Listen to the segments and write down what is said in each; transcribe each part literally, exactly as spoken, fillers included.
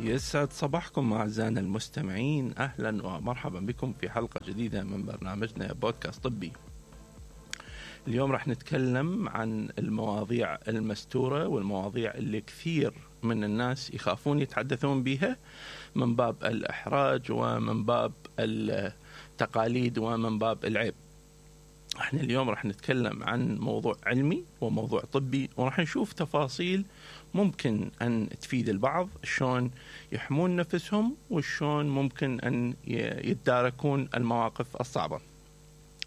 يسعد صباحكم أعزائنا المستمعين، أهلا ومرحبا بكم في حلقة جديدة من برنامجنا بودكاست طبي. اليوم راح نتكلم عن المواضيع المستورة والمواضيع اللي كثير من الناس يخافون يتحدثون بها من باب الإحراج ومن باب التقاليد ومن باب العيب. احنا اليوم راح نتكلم عن موضوع علمي وموضوع طبي، وراح نشوف تفاصيل ممكن أن تفيد البعض، شلون يحمون نفسهم وشلون ممكن أن يتداركون المواقف الصعبة.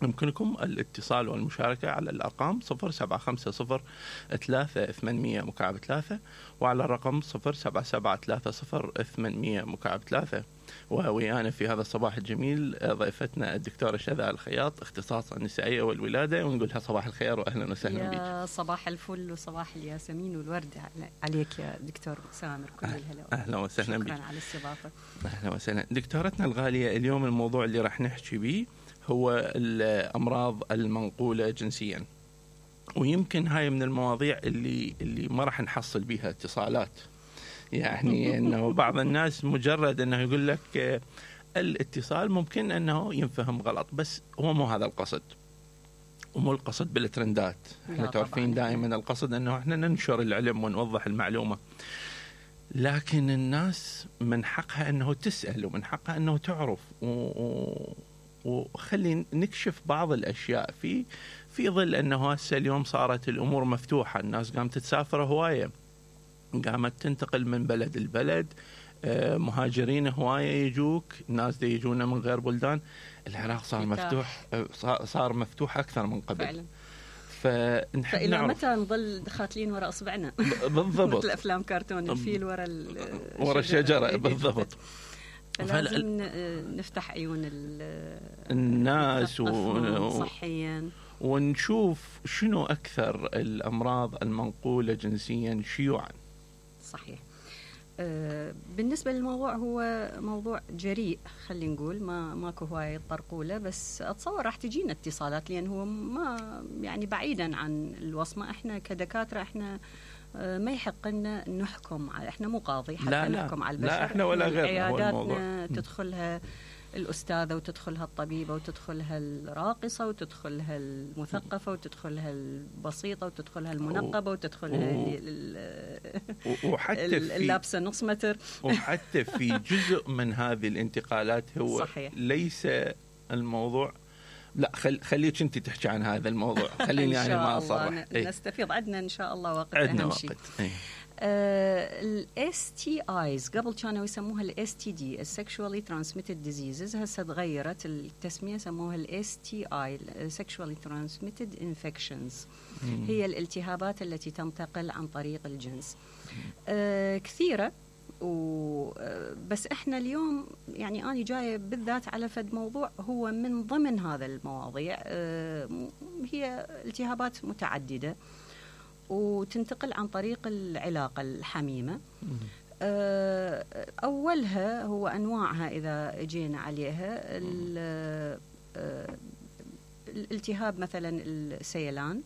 يمكنكم الاتصال والمشاركة على الأرقام صفر سبعة خمسة صفر ثلاثة ثمانمية مكعب ثلاثة وعلى الرقم صفر سبعة سبعة ثلاثة صفر ثمانمية مكعب ثلاثة. وويانا في هذا الصباح الجميل ضيفتنا الدكتورة شذى الخياط، اختصاص النسائية والولادة، ونقولها صباح الخير وأهلا وسهلا بك. يا صباح الفل وصباح الياسمين والورد عليك يا دكتور سامر، كل الهلا. أهلا وسهلا بك. شكرا على الاستضافة. أهلا وسهلا دكتورتنا الغالية. اليوم الموضوع اللي راح نحكي به هو الأمراض المنقولة جنسيا، ويمكن هاي من المواضيع اللي اللي ما راح نحصل بها اتصالات. يعني انه بعض الناس مجرد انه يقول لك الاتصال ممكن انه ينفهم غلط، بس هو مو هذا القصد، ومو القصد بالترندات. احنا تعرفين دائما القصد انه احنا ننشر العلم ونوضح المعلومة، لكن الناس من حقها انه تسأل ومن حقها انه تعرف، و... وخلي نكشف بعض الاشياء في في ظل انه هسه اليوم صارت الامور مفتوحة، الناس قامت تسافر هواية، قامت تنتقل من بلد البلد، مهاجرين هواية يجوك، ناس دي يجونا من غير بلدان. العراق صار مفتوح، صار مفتوح أكثر من قبل فعلا. فنحب فإلى نعرف متى نظل خاتلين وراء أصبعنا بالضبط مثل أفلام كرتون الفيل وراء وراء الشجرة بالضبط. فلازم نفتح عيون الناس صحيا ونشوف شنو أكثر الأمراض المنقولة جنسيا شيوعا. صحيح. أه بالنسبة للموضوع هو موضوع جريء، خلينا نقول ما ماكو هواية طرقولة، بس أتصور راح تجينا اتصالات، لأن هو ما يعني بعيدا عن الوصمة. إحنا كدكاترة إحنا أه ما يحق لنا نحكم على، إحنا مو قاضي حتى لا نحكم لا على البشر. لا إحنا ولا غيرنا. عياداتنا تدخلها الأستاذة وتدخلها الطبيبة وتدخلها الراقصة وتدخلها المثقفة وتدخلها البسيطة وتدخلها المنقبة وتدخلها وحتى اللابسة نص متر. وحتى في جزء من هذه الانتقالات هو صحيح. ليس الموضوع، لا خل خليك انت تحكي عن هذا الموضوع، خليني يعني ما اصرح. نستفيض، عندنا ان شاء الله وقت. عندنا وقت. ال إس تي آيز قبل كانوا يسموها ال إس تي دي Sexually Transmitted Diseases، هسه تغيرت التسمية سموها ال إس تي آي Sexually Transmitted Infections. مم. هي الالتهابات التي تنتقل عن طريق الجنس. آه كثيرة، وبس احنا اليوم يعني أنا جاية بالذات على فد موضوع هو من ضمن هذا المواضيع. آه هي التهابات متعددة وتنتقل عن طريق العلاقة الحميمة. أولها هو أنواعها إذا جينا عليها، الالتهاب مثلا السيلان،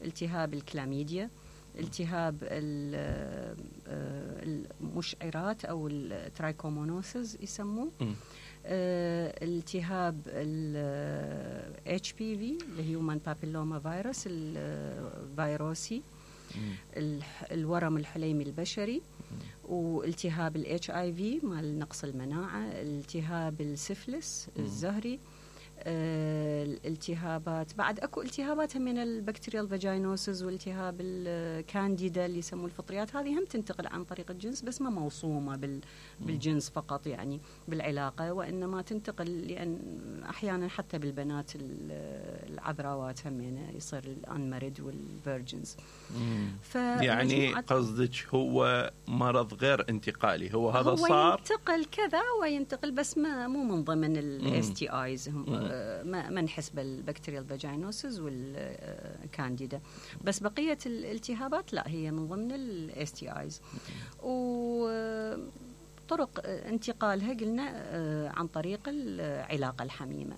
التهاب الكلاميديا، التهاب المشعرات أو الترايكومونوسز يسموه، التهاب ال إتش بي في اللي هو Human Papilloma Virus الفيروسي، الورم الحليمي البشري، والتهاب ال إتش آي في مال نقص المناعة، التهاب السفلس الزهري، آه، الالتهابات بعد اكو التهابات من البكتيريال فاجينوسز والتهاب الكانديدا اللي يسموه الفطريات، هذه هم تنتقل عن طريق الجنس بس ما موصومة بال بالجنس فقط يعني بالعلاقة، وإنما تنتقل لأن أحيانا حتى بالبنات العذراوات هم يصير الأنمرد والفيرجنز. يعني قصدك هو مرض غير انتقالي، هو هذا هو صار ينتقل كذا وينتقل بس ما مو من ضمن الاس تي ايز، ما ما نحس بالبكتيريال فاجينوسز والكانديدا، بس بقية الالتهابات لا هي من ضمن الاس تي ايز. وطرق انتقالها قلنا عن طريق العلاقة الحميمة.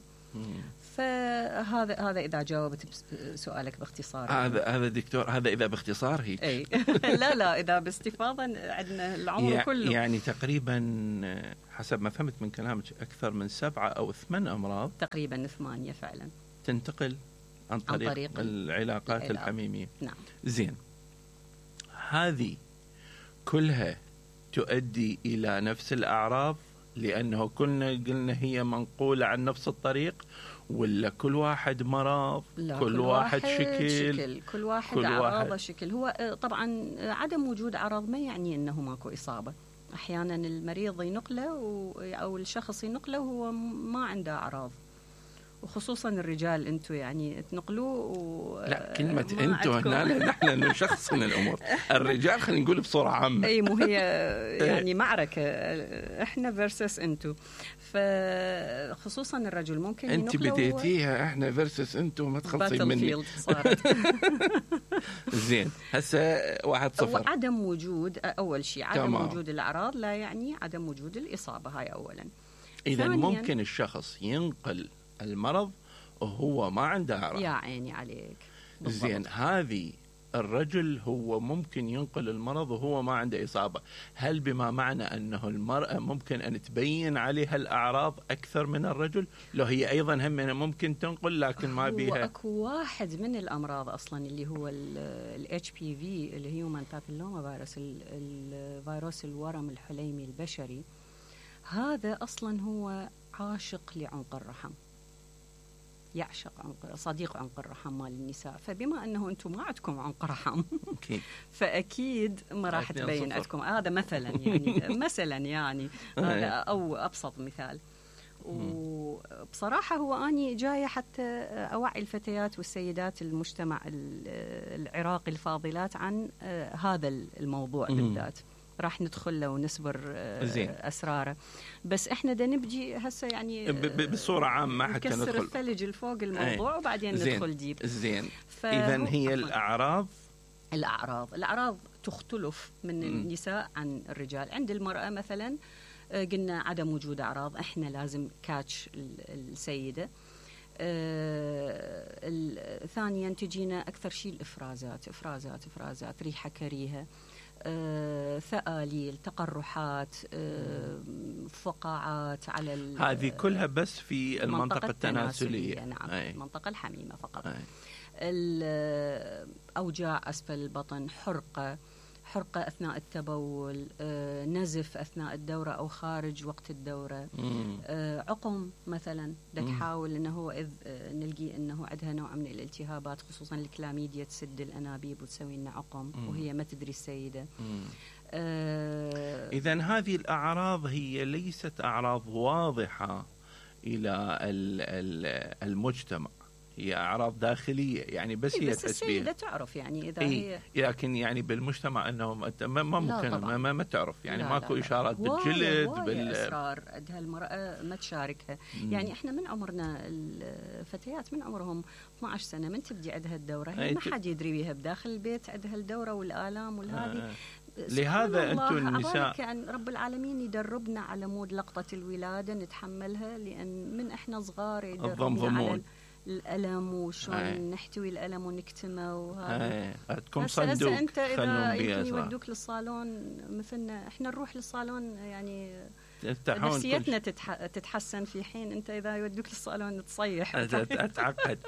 فهذا هذا اذا جاوبت سؤالك باختصار. هذا هذا دكتور، هذا اذا باختصار هيك. اي لا لا اذا باستفاضه عندنا العمر يعني كله. يعني تقريبا حسب ما فهمت من كلامك اكثر من سبعه او ثمان امراض، تقريبا ثمانيه فعلا، تنتقل عن طريق, عن طريق العلاقات العلاق. الحميميه. نعم. زين، هذه كلها تؤدي الى نفس الاعراض؟ لانه كلنا قلنا هي منقوله عن نفس الطريق، ولا كل واحد مرض؟ لا، كل, كل واحد, واحد شكل, شكل كل واحد اعراضه شكل. هو طبعا عدم وجود اعراض ما يعني انه ماكو اصابه. احيانا المريض ينقله او الشخص ينقله وهو ما عنده اعراض، وخصوصا الرجال انتم يعني تنقلوه و... لا، كلمه انتم هنا نحن نشخصن الامور. الرجال خلينا نقول بصوره عامه. اي مو هي يعني معركه احنا فيرسس انتم، فخصوصا الرجل ممكن انت بديتيها احنا فيرسس انتم، ما تخلصين مني. صارت. زين، هسه واحد صفر. عدم وجود اول شيء عدم تمام. وجود الاعراض لا يعني عدم وجود الاصابه، هاي اولا. اذا ممكن الشخص ينقل المرض وهو ما عنده أعراض. يا عيني عليك. بالضبط. زين، هذه الرجل هو ممكن ينقل المرض وهو ما عنده إصابة، هل بما معنى أنه المرأة ممكن أن تبين عليها الأعراض أكثر من الرجل؟ لو هي أيضا هم ممكن تنقل لكن ما بيها. هو أكو واحد من الأمراض أصلا اللي هو ال إتش بي في، الهيومن بابيلوما فيروس، الفيروس الورم الحليمي البشري. هذا أصلا هو عاشق لعنق الرحم، يعشق عنق، صديق عنق الرحم مال النساء. فبما أنه أنتم ما عندكم عنق رحم فأكيد ما راح تبين عندكم. هذا مثلا يعني مثلا يعني هذا أو أبسط مثال. وبصراحة هو أني جاية حتى أوعي الفتيات والسيدات المجتمع العراقي الفاضلات عن هذا الموضوع بالذات. راح ندخل له ونسبر أسراره، بس إحنا دا نبجي هسه يعني بصورة عامة حتى ندخل نكسر الثلج الفوق الموضوع أي. وبعدين زين. ندخل ديب. زين، إذن هي الأعراض الأعراض الأعراض تختلف من م. النساء عن الرجال. عند المرأة مثلا قلنا عدم وجود أعراض، إحنا لازم كاتش السيدة. آه ثانيا تجينا أكثر شيء الإفرازات إفرازات إفرازات ريحة كريهة، آه، ثآليل، تقرحات، آه، فقاعات على هذه كلها بس في المنطقة التناسلية. نعم، أي. المنطقة الحميمة فقط. الأوجاع أسفل البطن، حرقة حرقة أثناء التبول، آه، نزف أثناء الدورة أو خارج وقت الدورة، آه، عقم مثلا تحاول أنه إذ آه، نلقي أنه عندها نوع من الالتهابات، خصوصا الكلاميديا تسد الأنابيب وتسوي لنا عقم مم. وهي ما تدري السيدة. آه إذن هذه الأعراض هي ليست أعراض واضحة إلى المجتمع، هي أعراض داخلية يعني، بس إيه هي بس تحس بيها تعرف يعني إذا إيه هي لكن يعني بالمجتمع أنه ما ممكن ما, ما, ما تعرف يعني لا ماكو لا لا. إشارات بالجلد بال أسرار عندها المرأة ما تشاركها. مم. يعني إحنا من عمرنا الفتيات من عمرهم اثنتي عشرة سنة من تبدي عندها الدورة، هي ما حد يدري بيها بداخل البيت عندها الدورة والآلام والهذه. آه. لهذا أنتم النساء كأن رب العالمين يدربنا على مود لقطة الولادة نتحملها، لأن من إحنا صغار يدربنا على الألم وشون نحتوي الألم ونكتمه وهذا. عندكم صندوق أنت إذا يودوك للصالون مثلنا إحنا نروح للصالون يعني نفسيتنا تتح... تتحسن في حين أنت إذا يودوك للصالون تصيح أتعقد.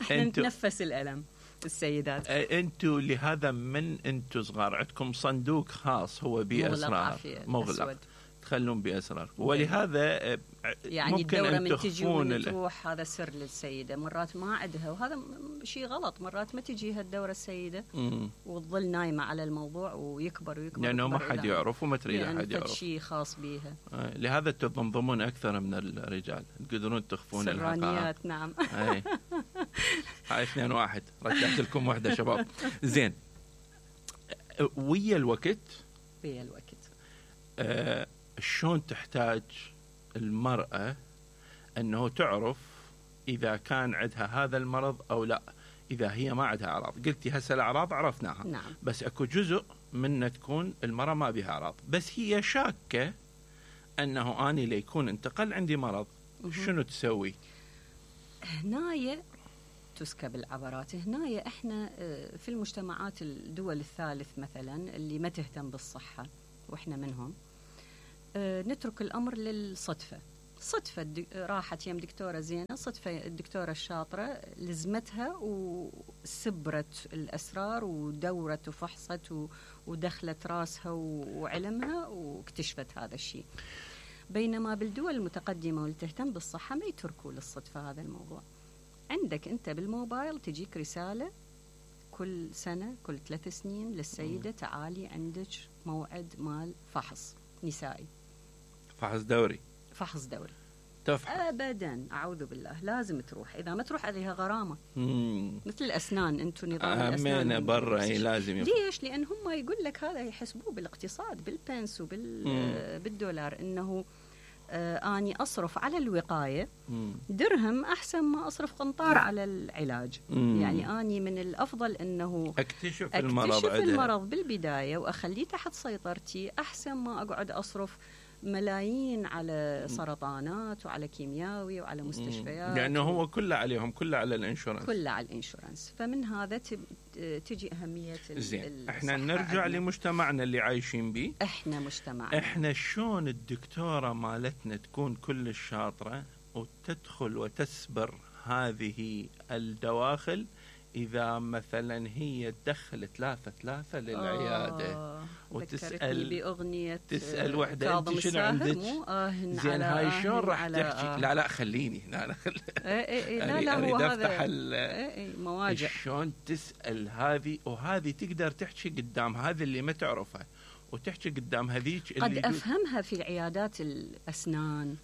إحنا نتنفس الألم السيدات. أنتوا لهذا من أنتوا صغار عندكم صندوق خاص هو بأسرار مغلق تخلون بأسرار، ولهذا يعني ممكن الدورة أن من تجي وتروح هذا سر للسيدة، مرات ما عندها وهذا شيء غلط، مرات ما تجيها الدورة السيدة مم. وتظل نايمة على الموضوع ويكبر ويكبر لأنه ما حد يعرف وما تريد يعني أحد يعرف شيء خاص بيها. آه. لهذا تضمضمون أكثر من الرجال، تقدرون تخفون سرانيات. نعم. هاي هاي اثنين واحد رجعت لكم واحدة شباب. زين، ويا الوقت ويا الوقت آه شلون تحتاج المرأة أنه تعرف إذا كان عندها هذا المرض أو لا، إذا هي ما عندها أعراض؟ قلتي هسه الأعراض عرفناها. نعم. بس أكو جزء منها تكون المرأة ما بها أعراض بس هي شاكة أنه أني ليكون انتقل عندي مرض، شنو تسوي؟ هنايا تسكب العبرات. هنايا احنا في المجتمعات الدول الثالث مثلا اللي ما تهتم بالصحة واحنا منهم، نترك الامر للصدفة. صدفة راحت يم دكتورة زينة، صدفة الدكتورة الشاطرة لزمتها وسبرت الأسرار ودورت وفحصت ودخلت راسها وعلمها واكتشفت هذا الشيء. بينما بالدول المتقدمة واللي تهتم بالصحة ما يتركوا للصدفة هذا الموضوع. عندك أنت بالموبايل تجيك رسالة كل سنة كل ثلاث سنين للسيدة تعالي عندك موعد مال فحص نسائي، فحص دوري فحص دوري تفحص. ابدا اعوذ بالله، لازم تروح، اذا ما تروح عليها غرامه. مم. مثل الاسنان، انتم نظام الاسنان الاسنان برا لازم يفحص. ليش؟ لان هم يقول لك هذا يحسبوه بالاقتصاد بالبنس وبالدولار، انه آه اني اصرف على الوقايه مم. درهم احسن ما اصرف قنطار على العلاج. مم. يعني اني من الافضل انه اكتشف, أكتشف المرض المرض بالبدايه واخليه تحت سيطرتي احسن ما اقعد اصرف ملايين على سرطانات وعلى كيمياوي وعلى مستشفيات، لأنه هو كله عليهم، كله على الانشورنس، كله على الانشورنس. فمن هذا تجي أهمية زين. احنا نرجع عدنا. لمجتمعنا اللي عايشين به. احنا مجتمعنا احنا شلون الدكتورة مالتنا تكون كل الشاطرة وتدخل وتسبر هذه الدواخل إذا مثلا هي تدخل ثلاثة ثلاثة للعيادة آه وتسأل بأغنية تسأل وحدة أنت شنو عندك؟ زين هاي شلون راح تحكي؟ آه لا لا خليني لا لا خل... اي اي لا لا هو هذا اي مواجع. شلون تسأل هذه وهذه تقدر تحكي قدام هذه اللي ما تعرفها وتحكي قدام هذيك اللي قد أفهمها في عيادات الأسنان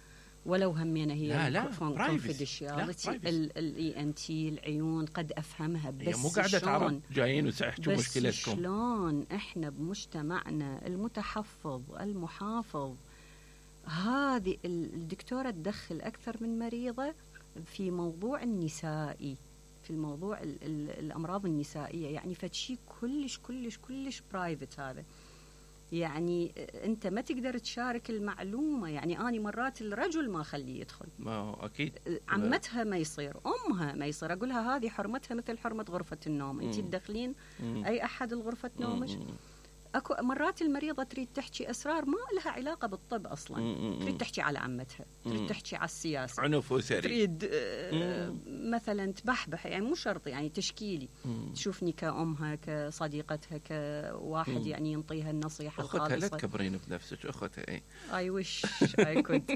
ولو همينا هي لا لا كونفيدنشياليتي الاي ان تي العيون قد افهمها، بس مو قاعده تعرف جايين وتحكوا مشكلتكم. شلون احنا بمجتمعنا المتحفظ المحافظ هذه الدكتوره تدخل اكثر من مريضه في موضوع النسائي، في الموضوع ال ال الامراض النسائيه، يعني فشي كلش كلش كلش برايفت هذا. يعني انت ما تقدر تشارك المعلومه. يعني اني مرات الرجل ما اخليه يدخل، ما هو اكيد عمتها ما يصير، امها ما يصير، اقول لها هذه حرمتها مثل حرمه غرفه النوم، انت تدخلين اي احد الغرفه نومك. اكو مرات المريضه تريد تحكي اسرار ما لها علاقه بالطب اصلا، مم. تريد تحكي على عمتها، تريد مم. تحكي على السياسه، عنف وسري، تريد آه مثلا تبحبح، يعني مو شرط يعني تشكيلي، مم. تشوفني كأمها كصديقتها كواحد مم. يعني ينطيها النصيحه الخالصه. اختها لا تكبرين بنفسك، اختها اي اي وش اي كنت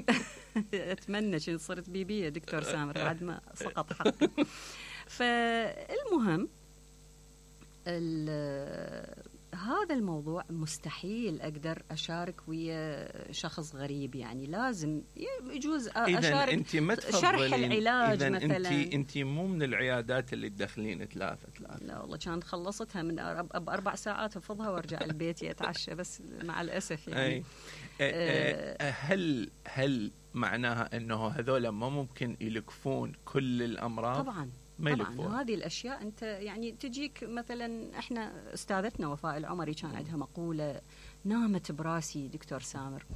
اتمنى شي صرت بيبيه دكتور سامر بعد ما سقط حقي. فالمهم هذا الموضوع مستحيل أقدر أشارك ويا شخص غريب، يعني لازم يجوز أشارك انت ما شرح العلاج إذن مثلا. انت انت مو من العيادات اللي تدخلين ثلاثة ثلاثة. لا والله كانت خلصتها من بأربع ساعات أفضها وارجع البيت أتعشى، بس مع الأسف يعني. أي. هل هل معناها أنه هذول ما ممكن يلكفون كل الأمراض؟ طبعا طبعا هذه الأشياء أنت يعني تجيك مثلا. إحنا أستاذتنا وفاء العمري كان عندها مقولة نامت براسي دكتور سامر،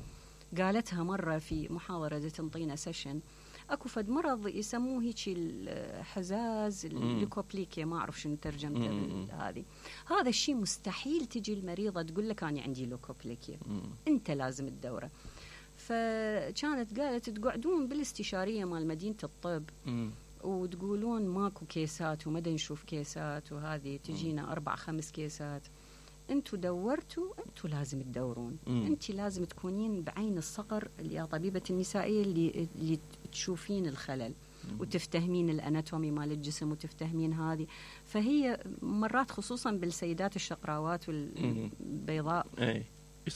قالتها مرة في محاضرة تنطينا سيشن. أكو فد مرض يسموه هيك الحزاز الليكوبليكيا، ما أعرف شنو ترجمته هذه. هذا الشيء مستحيل تجي المريضة تقول لك أنا عندي ليكوبليكيا، أنت لازم تدوره. فكانت قالت تقعدون بالاستشارية مال مدينة الطب وتقولون ماكو كيسات وما نشوف كيسات، وهذه تجينا أربع خمس كيسات. أنتوا دورتوا، أنتوا لازم تدورون. أنت لازم تكونين بعين الصقر يا طبيبة النسائية اللي, اللي تشوفين الخلل مم. وتفتهمين الأناتومي مال الجسم وتفتهمين هذه. فهي مرات خصوصا بالسيدات الشقراوات والبيضاء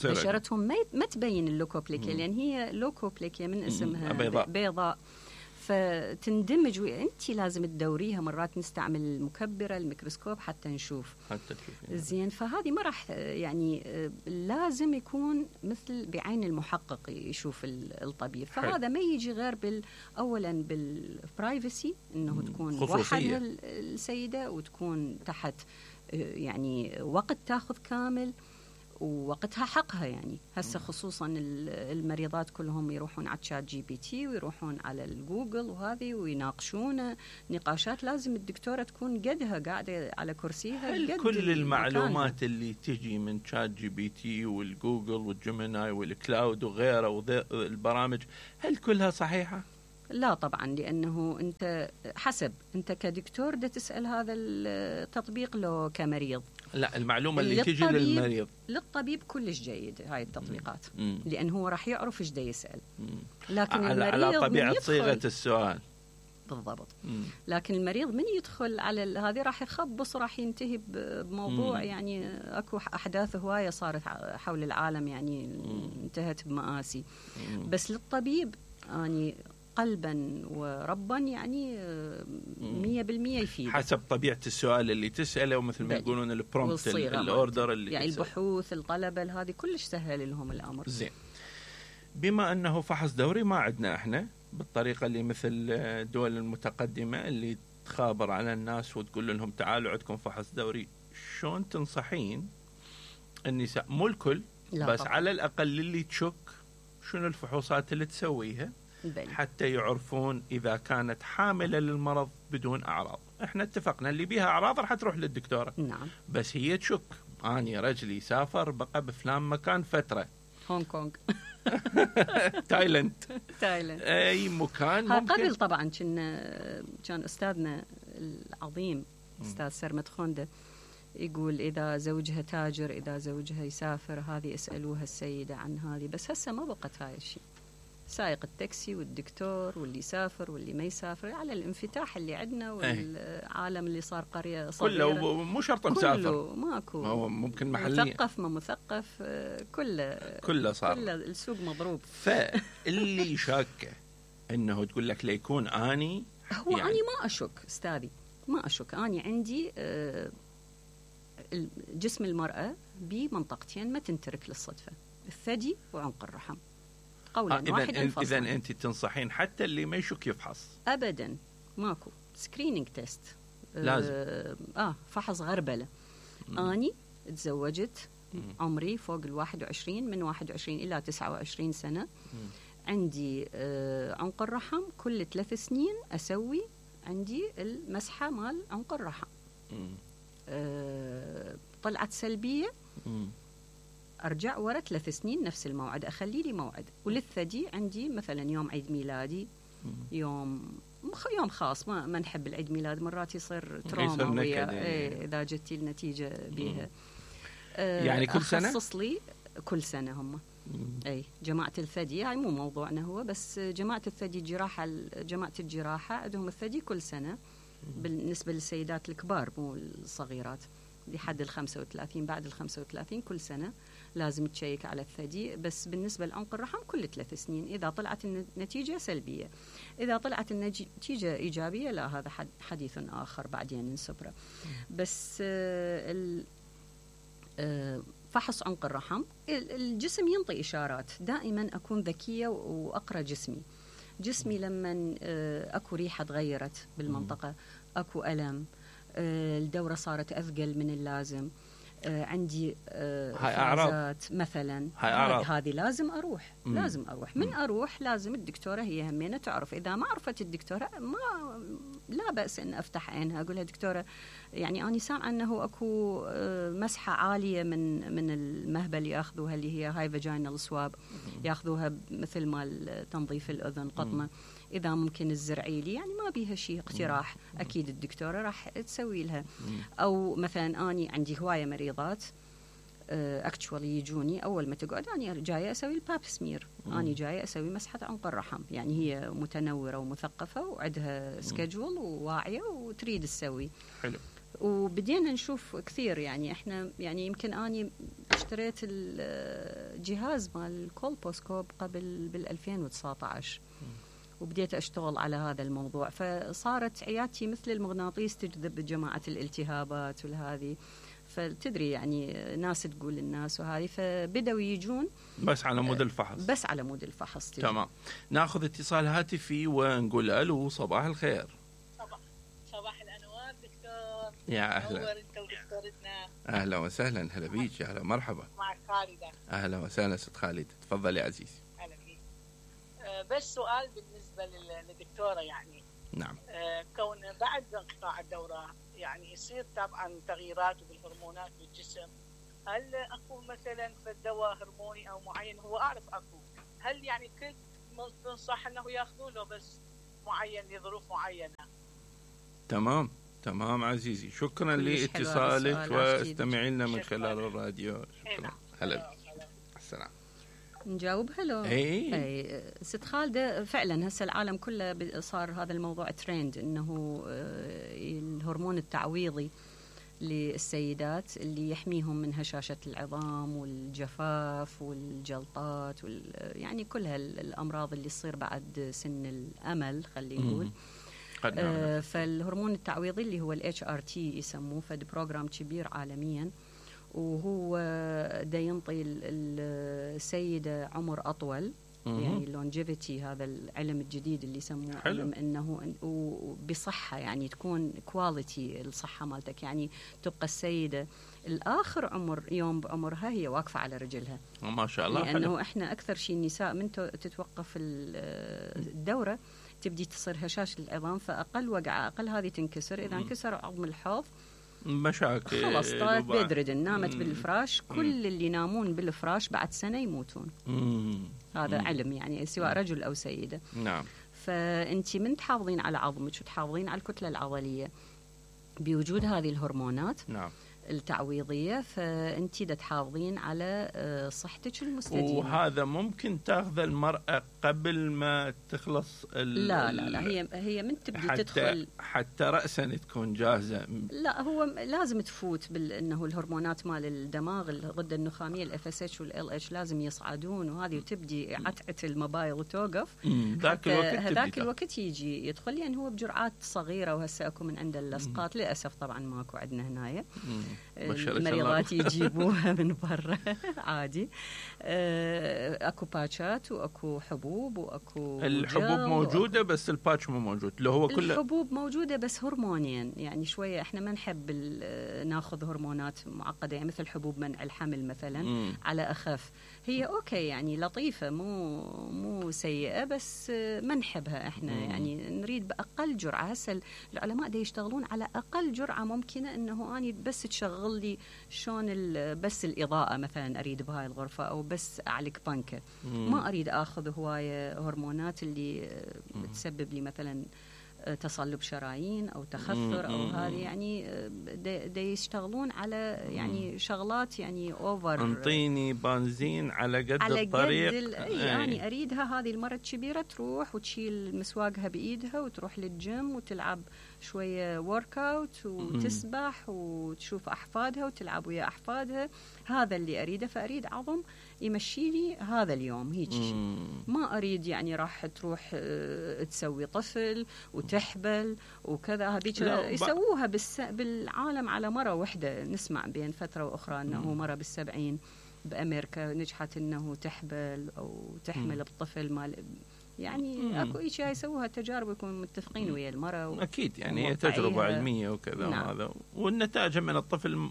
بشرتهم ما ما تبين اللوكوبليكيا، لأن هي لوكوبليكيا من اسمها بيضاء, بيضاء. فتندمج، وانت لازم تدوريها. مرات نستعمل المكبره الميكروسكوب حتى نشوف حتى تشوفين زين. فهذه ما راح يعني لازم يكون مثل بعين المحقق يشوف الطبيب. فهذا ما يجي غير بال اولا بالبرايفسي، انه تكون موحده السيده وتكون تحت يعني وقت تاخذ كامل، ووقتها حقها يعني. هسه خصوصا المريضات كلهم يروحون على تشات جي بي تي ويروحون على الجوجل وهذه ويناقشون نقاشات، لازم الدكتورة تكون قدها قاعدة على كرسيها. هل قد كل المعلومات مكانها اللي تجي من تشات جي بي تي والجوجل والجيميناي والكلاود وغيره والبرامج هل كلها صحيحة؟ لا طبعا، لأنه أنت حسب أنت كدكتور دا تسأل هذا التطبيق لو كمريض. لا، المعلومة اللي تجي للمريض للطبيب كلش جيد هاي التطبيقات، مم. لأنه هو راح يعرف إيش دا يسأل. مم. لكن على, المريض على طبيعة صيغة يدخل السؤال بالضبط. مم. لكن المريض من يدخل على هذه راح يخبص، راح ينتهي بموضوع مم. يعني اكو احداث هوايه صارت حول العالم يعني مم. انتهت بمآسي. مم. بس للطبيب يعني قلبا وربا يعني مية بالمية يفيد حسب طبيعة السؤال اللي تسأله، ومثل ما يقولون البرومبت الأوردر اللي يعني تسأل. البحوث الطلبة هذه كلش سهل لهم الأمر. زين، بما أنه فحص دوري ما عندنا إحنا بالطريقة اللي مثل الدول المتقدمة اللي تخابر على الناس وتقول لهم تعالوا عندكم فحص دوري، شلون تنصحين النساء، مو الكل بس طبعا. على الأقل اللي تشك شنو الفحوصات اللي تسويها بل. حتى يعرفون إذا كانت حاملة للمرض بدون أعراض؟ إحنا اتفقنا اللي بيها أعراض راح تروح للدكتورة. نعم. بس هي تشك، أني رجلي سافر بقى بفلان مكان فترة، هونغ كونغ تايلاند تايلاند أي مكان ممكن. قبل طبعا كان كان أستاذنا العظيم أستاذ سرمد خونده يقول إذا زوجها تاجر، إذا زوجها يسافر، هذه اسألوها السيدة عن هذه. بس هسه ما بقت هاي الشيء. سائق التاكسي والدكتور واللي يسافر واللي ما يسافر، على الانفتاح اللي عندنا والعالم اللي صار قرية صغيرة كله مو شرط مسافر، كله ماكو، هو ممكن محلي، مثقف ما مثقف، كله كله صار، كله السوق مضروب. فاللي شاكه انه تقول لك ليكون اني هو يعني اني ما اشك استاذي، ما اشك. اني عندي جسم المرأة بمنطقتين ما تنترك للصدفة، الثدي وعنق الرحم. قولا آه واحد انفصل. إذا أنت تنصحين حتى اللي ما يشك يفحص؟ أبدا ماكو سكرينينج تيست لازم. آه, آه فحص غربلة. مم. أني تزوجت، مم. عمري فوق الواحد وعشرين، من واحد وعشرين إلى تسعة وعشرين سنة. مم. عندي آه عنق الرحم كل ثلاث سنين أسوي عندي المسحة مال عنق الرحم. آه طلعت سلبية، مم. أرجع ورا ثلاث سنين نفس الموعد، أخلي لي موعد. وللثدي عندي مثلا يوم عيد ميلادي، يوم يوم خاص، ما ما نحب العيد ميلاد، مرات يصير تروما ويا إيه إذا جتي النتيجة بيها. آه يعني كل سنة؟ أخصص لي كل سنة هم. أي جماعة الثدي يعني مو موضوعنا هو، بس جماعة الثدي جراحة، جماعة الجراحة عندهم الثدي كل سنة بالنسبة للسيدات الكبار مو الصغيرات، لحد الخمسة وثلاثين. بعد الخمسة وثلاثين كل سنة لازم تشيك على الثدي. بس بالنسبة لعنق الرحم كل ثلاث سنين إذا طلعت النتيجة سلبية. إذا طلعت النتيجة إيجابية لا، هذا حديث آخر بعدين نسبره. بس آه فحص عنق الرحم الجسم ينطي إشارات. دائما أكون ذكية وأقرأ جسمي. جسمي لما آه أكو ريحة تغيرت بالمنطقة، أكو ألم، الدورة صارت أثقل من اللازم، آه عندي آه إفرازات مثلا، هذه لازم أروح. مم. لازم أروح. من أروح لازم الدكتورة هي همينة تعرف. إذا ما عرفت الدكتورة ما لا بأس أن أفتح عينها أقولها دكتورة يعني أنا سامعة أنه أكو آه مسحة عالية من من المهبل يأخذوها اللي هي هاي فاجينال سواب، يأخذوها مثل مال تنظيف الأذن قطمة. مم. إذا ممكن الزرعي لي يعني ما بيها شيء، اقتراح أكيد الدكتورة راح تسوي لها. أو مثلا أني عندي هواية مريضات اكتشوالي يجوني أول ما تقعد أنا جاية أسوي الباب سمير، أنا جاية أسوي مسحة عنق الرحم. يعني هي متنورة ومثقفة وعندها سكجول وواعية وتريد تسوي. حلو. وبدينا نشوف كثير يعني إحنا يعني يمكن أني اشتريت الجهاز مال الكولبوسكوب قبل بالألفين وتسعة عشر وبديت أشتغل على هذا الموضوع، فصارت عيادتي مثل المغناطيس تجذب جماعة الالتهابات والهذه. فتدري يعني ناس تقول الناس وهذه، فبدأوا يجون بس على مود الفحص. بس على مود الفحص. تمام. ناخذ اتصال هاتفي ونقول ألو، صباح الخير. صباح صباح الأنوار دكتور. يا أهلا. نور أنت ودكتورتنا. اهلا وسهلا، هلا بيك، اهلا مرحبا. معك خالدة. اهلا وسهلا ست خالد، تفضل يا عزيزي. اهلا بيك. أه بس سؤال بالنسبة للدكتورة يعني. نعم. أه كون بعد انقطاع الدورة يعني يصير طبعا تغييرات بالهرمونات بالجسم، هل اكو مثلا في الدواء هرموني او معين؟ هو اعرف اكو، هل يعني كل تنصح انه ياخذوا له بس معين لظروف معينة؟ تمام تمام عزيزي، شكرا لاتصالك واستمعي لنا من خلال الراديو. شكرا. هلا السلام. نجاوبها لو؟ اي اي ست خالده، فعلا هسه العالم كله صار هذا الموضوع ترند، انه الهرمون التعويضي للسيدات اللي يحميهم من هشاشة العظام والجفاف والجلطات وال يعني كل هالأمراض اللي تصير بعد سن الأمل خلينا نقول. آه فالهرمون التعويضي اللي هو ال إتش آر تي يسموه، فد بروجرام كبير عالميا، وهو دا ينطي السيدة عمر أطول، يعني longevity، هذا العلم الجديد اللي يسموه علم انه وبصحه، يعني تكون كواليتي الصحه مالتك، يعني تبقى السيده الاخر عمر يوم بعمرها هي واقفه على رجلها ما شاء الله. لانه حلو. احنا اكثر شيء النساء من تتوقف الدوره تبدي تصير هشاشه العظام، فاقل وقعه اقل هذه تنكسر، اذا انكسر عظم الحوض مشاكل خلاص طلعت بيدردن، نامت مم. بالفراش. كل مم. اللي ينامون بالفراش بعد سنة يموتون. مم. هذا مم. علم يعني، سواء رجل أو سيدة. نعم. فأنت من تحافظين على عظمك وتحافظين على الكتلة العضلية بوجود هذه الهرمونات نعم. التعويضية، فأنت دا تحافظين على صحتك المستديمة. وهذا ممكن تاخذ المرأة قبل ما تخلص ال لا لا لا هي هي من تبدي حتى تدخل حتى رأسا تكون جاهزة. لا هو لازم تفوت بأنه الهرمونات مال الدماغ، الغدة النخامية ال إف إس إتش وال إل إتش لازم يصعدون، وهذه وتبدي عتعة الموبايل وتوقف. ذاك الوقت هذاك الوقت يجي يدخل، يعني هو بجرعات صغيرة، وهسه اكو من عند اللصقات للأسف طبعا ماكو عندنا هنايا. المريضات يجيبوها من برا عادي. اكو باتشات واكو حبوب واكو الحبوب موجوده وأكو بس الباتش مو موجود، اللي هو كله الحبوب موجوده بس هرمونيا، يعني شويه احنا ما نحب ناخذ هرمونات معقده، يعني مثل حبوب منع الحمل مثلا مم. على اخف، هي اوكي يعني لطيفه مو مو سيئه، بس ما نحبها احنا. مم. يعني نريد باقل جرعه. هسه العلماء دا يشتغلون على اقل جرعه ممكنه، انه اني بس تشغل لي شلون بس الاضاءه مثلا اريد بهاي الغرفه، او بس اعلق بنكه. ما اريد اخذ هوايه هرمونات اللي مم. تسبب لي مثلا تصلب شرايين او تخثر او هذه، يعني دا يشتغلون على يعني شغلات يعني اوفر. انطيني بنزين على قد على الطريق قد يعني اريدها. هذه المره الكبيره تروح وتشيل مسواقها بايدها وتروح للجيم وتلعب شويه ورك اوت وتسبح وتشوف احفادها وتلعب ويا احفادها. هذا اللي اريده. فاريد عظم يمشي لي هذا اليوم هيك شيء. ما اريد يعني راح تروح تسوي طفل وتحبل وكذا. هذيك يسووها بالس... بالعالم على مره واحده. نسمع بين فتره واخرى انه مره بالسبعين بامريكا نجحت انه تحبل او تحمل مم. بطفل مال يعني مم. اكو اشياء يسووها تجارب يكونوا متفقين ويا المراه و... اكيد يعني هي تجربه علميه وكذا. نعم. وهذا والنتائج من الطفل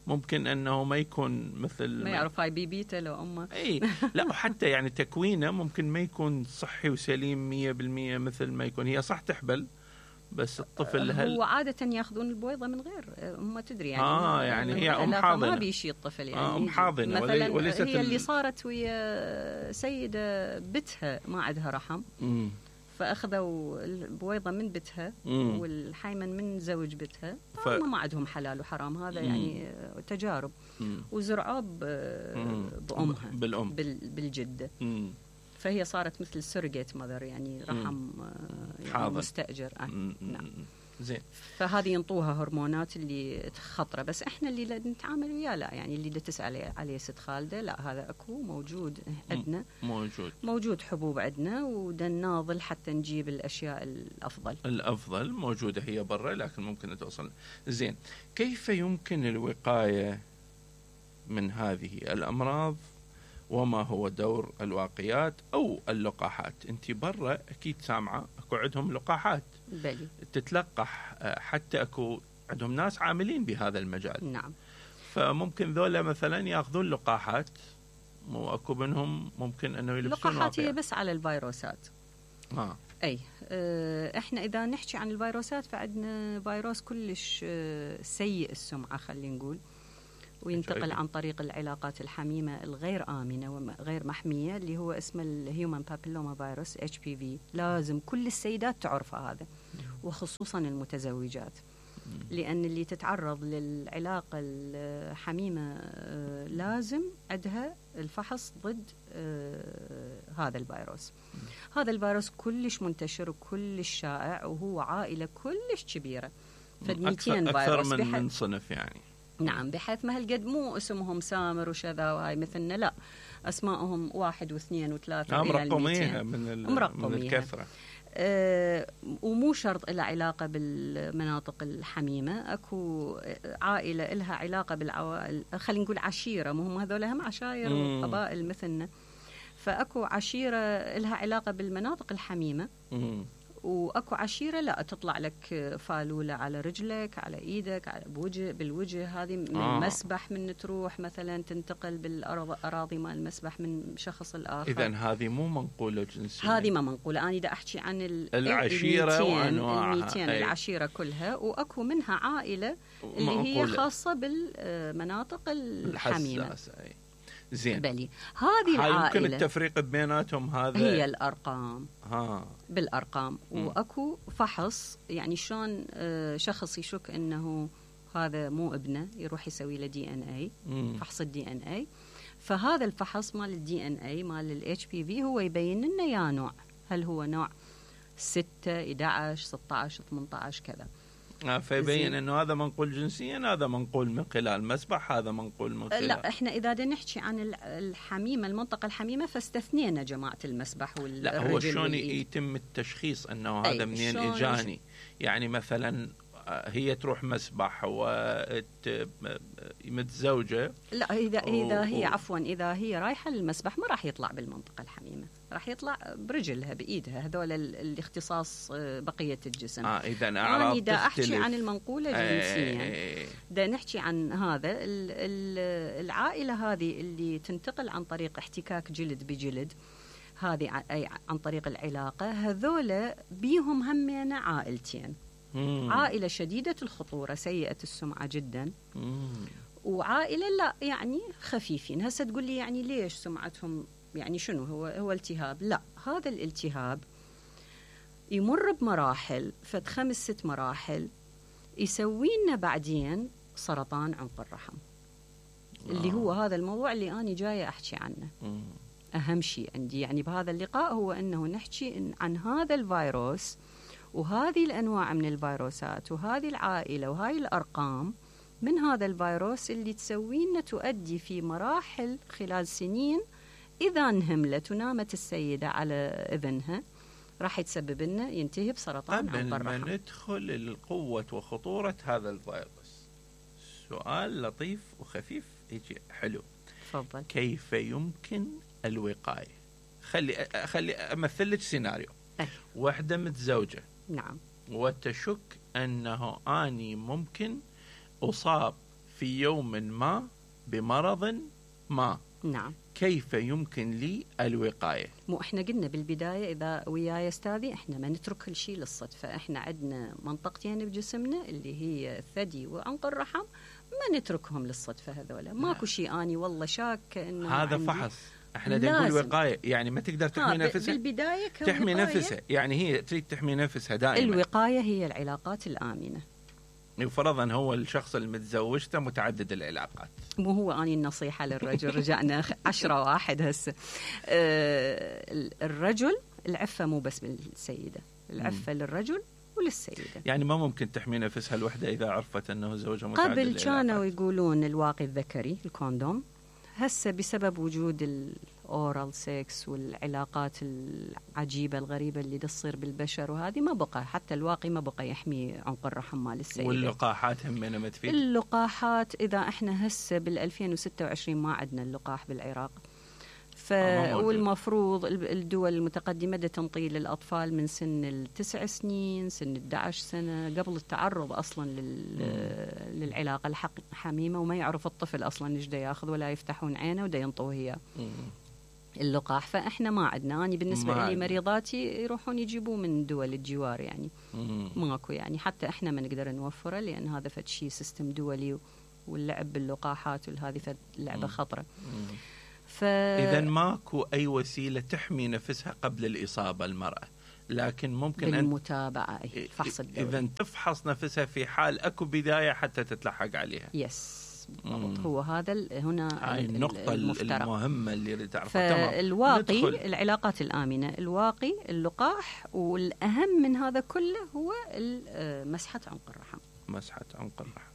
ممكن انه ما يكون مثل ما يعرف هاي بيبيته لو امه. اي لا وحتى يعني تكوينه ممكن ما يكون صحي وسليم مية بالمية مثل ما يكون. هي صح تحبل بس الطفل هل هو عادة ياخذون البويضة من غير ما تدري يعني. اه يعني هي ام حاضنة ما بيشي الطفل يعني. آه ام حاضنة مثلا وليست هي اللي صارت ويا سيدة بتها ما عندها رحم. مم. فاخذوا البويضه من بتها مم. والحيمن من زوج بتها. ف... ما عندهم حلال وحرام. هذا مم. يعني تجارب. مم. وزرعوه بامها بالام بال... بالجده. مم. فهي صارت مثل سيرجيت ماذر يعني رحم يعني مستاجر. آه. نعم. زين. فهذه ينطوها هرمونات اللي خطره. بس احنا اللي نتعامل وياه لا يعني اللي تسال عليه ست خالده لا هذا اكو موجود عندنا. موجود موجود حبوب عندنا ودناضل حتى نجيب الاشياء الافضل. الافضل موجوده هي برا لكن ممكن توصل. زين. كيف يمكن الوقايه من هذه الامراض وما هو دور الواقيات أو اللقاحات؟ أنت برا أكيد سامعة أكو عندهم لقاحات بلي. تتلقح حتى أكو عندهم ناس عاملين بهذا المجال. نعم. فممكن ذولا مثلا ياخذون لقاحات، واكو منهم ممكن انه يلبسون اللقاحات هي واقية. بس على الفيروسات. آه. اي اه احنا اذا نحكي عن الفيروسات فعندنا فيروس كلش اه سيء السمعه خلينا نقول، وينتقل عن طريق العلاقات الحميمه الغير امنه وغير محميه، اللي هو اسمه الهيومن بابيلوما فيروس اتش بي في. لازم كل السيدات تعرف هذا، وخصوصا المتزوجات، لأن اللي تتعرض للعلاقة الحميمة لازم عندها الفحص ضد هذا الفيروس. هذا الفيروس كلش منتشر وكلش شائع، وهو عائلة كلش كبيرة، فمئتين أكثر من, من صنف يعني. نعم، بحيث ما هالقد مو اسمهم سامر وشذا وهاي مثلنا، لا، أسمائهم واحد واثنين وثلاثة إلى المئتين، من, من الكثرة. أه ومو شرط لها علاقة بالمناطق الحميمة. أكو عائلة لها علاقة بالعوائل، خلينا نقول عشيرة، مهم هذول هم عشائر وقبائل مثلنا، فأكو عشيرة لها علاقة بالمناطق الحميمة، مم. واكو عشيره لا تطلع لك فالوله على رجلك، على ايدك، على بوجه بالوجه. هذه من آه. المسبح، من تروح مثلا تنتقل بالاراضي مال المسبح من شخص الاخر. اذا هذه مو منقوله جنسيا، هذه ما منقوله. انا دا احكي عن العشيره وانواعها، المئتين العشيره كلها، واكو منها عائله اللي هي خاصه بالمناطق الحميمه. زين، بلي هذه العائلة يمكن التفريق بيناتهم هذا هي الأرقام. ها. بالأرقام. م. وأكو فحص، يعني شلون شخص يشك أنه هذا مو ابنه يروح يسوي له دي ان اي، فحص الدي ان اي. فهذا الفحص مال الدي ان اي مال الاتش بي في هو يبين لنا يا نوع، هل هو نوع ستة إحدى عشر ستة عشر ثمانية عشر كذا. فيبين انه هذا منقول جنسيا، هذا منقول من خلال مسبح، هذا منقول من خلال. لا، احنا اذا بدنا نحكي عن الحميمه، المنطقه الحميمه، فاستثنينا جماعه المسبح والرجل. لا، هو شلون يتم التشخيص انه هذا منين اجاني؟ يعني مثلا هي تروح مسبح ومتزوجه. لا، اذا اذا هي عفوا اذا هي رايحه للمسبح ما راح يطلع بالمنطقه الحميمه، راح يطلع برجلها بايدها، هذول الاختصاص بقيه الجسم. اه اذا اعراض تختلف. انا احكي عن المنقوله جنسيا، دا نحكي عن هذا العائله هذه اللي تنتقل عن طريق احتكاك جلد بجلد، هذه اي عن طريق العلاقه. هذول بيهم همين عائلتين، مم. عائله شديده الخطوره سيئه السمعه جدا، مم. وعائله لا يعني خفيفين. هسه تقول لي يعني ليش سمعتهم، يعني شنو هو هو التهاب؟ لا، هذا الالتهاب يمر بمراحل، فد خمس ست مراحل، يسوي لنا بعدين سرطان عنق الرحم، آه. اللي هو هذا الموضوع اللي أنا جاية أحكي عنه. مم. أهم شيء عندي يعني بهذا اللقاء هو أنه نحكي عن هذا الفيروس وهذه الأنواع من الفيروسات وهذه العائلة وهاي الأرقام من هذا الفيروس اللي تسوي لنا تؤدي في مراحل خلال سنين، إذا انهملت ونامت السيدة على إذنها راح يتسبب لنا ينتهي بسرطان عنق الرحم. قبل ما ندخل القوة وخطورة هذا الفيروس، سؤال لطيف وخفيف يجي حلو. تفضل. كيف يمكن الوقاية؟ خلي خلي أمثل لك سيناريو. أه. واحدة متزوجة. نعم. وتشك أنه أني ممكن أصاب في يوم ما بمرض ما. نعم. كيف يمكن لي الوقاية؟ مو احنا قلنا بالبداية إذا وياي استاذي احنا ما نترك كل شيء للصدفة. احنا عندنا منطقتين بجسمنا اللي هي الثدي وعنق الرحم، ما نتركهم للصدفة. هذولا ماكو شيء اني والله شاكة انه هذا فحص. احنا نقول وقاية، يعني ما تقدر تحمي نفسها بالبداية. تحمي نفسها، يعني هي تريد تحمي نفسها دائما. الوقاية هي العلاقات الآمنة. وفرضا هو الشخص المتزوجته متعدد العلاقات، مو هو أني النصيحة للرجل. رجعنا عشرة واحد هسه. أه الرجل العفة مو بس بالسيدة، العفة م. للرجل وللسيدة. يعني ما ممكن تحمي نفسها الوحدة إذا عرفت أنه زوجها متعدد قبل العلاقات. كانوا يقولون الواقي الذكري الكوندوم، هسه بسبب وجود الأورال سيكس والعلاقات العجيبة الغريبة اللي تصير بالبشر وهذه ما بقى، حتى الواقي ما بقى يحمي عنق الرحم مال السيدة. واللقاحات هم ما تفيد. اللقاحات إذا إحنا هسه بالألفين وستة وعشرين ما عندنا اللقاح بالعراق، ف... والمفروض الدول المتقدمة دا تنطي للأطفال من سن التسع سنين، سن الأحد عشر سنة، قبل التعرض أصلا لل... للعلاقة الحميمة، وما يعرف الطفل أصلا إيش دا ياخذ ولا يفتحون عينه ودا ينطوه إياه اللقاح. فإحنا ما عندنا، أنا بالنسبة لي مريضاتي يروحون يجيبوه من دول الجوار يعني ماكو يعني، حتى إحنا ما نقدر نوفره لأن هذا فد شيء سيستم دولي، واللعب باللقاحات وهذه فد لعبة خطرة. ف... إذا ماكو أي وسيلة تحمي نفسها قبل الإصابة المرأة، لكن ممكن بالمتابعة أن... الفحص الدوري، إذا تفحص نفسها في حال أكو بداية حتى تتلحق عليها. يس هو هذا هنا هاي النقطة المفترض. المهمة اللي تعرفها. فالواقي ندخل. العلاقات الآمنة، الواقي اللقاح، والأهم من هذا كله هو مسحة عنق الرحم. مسحة عنق الرحم.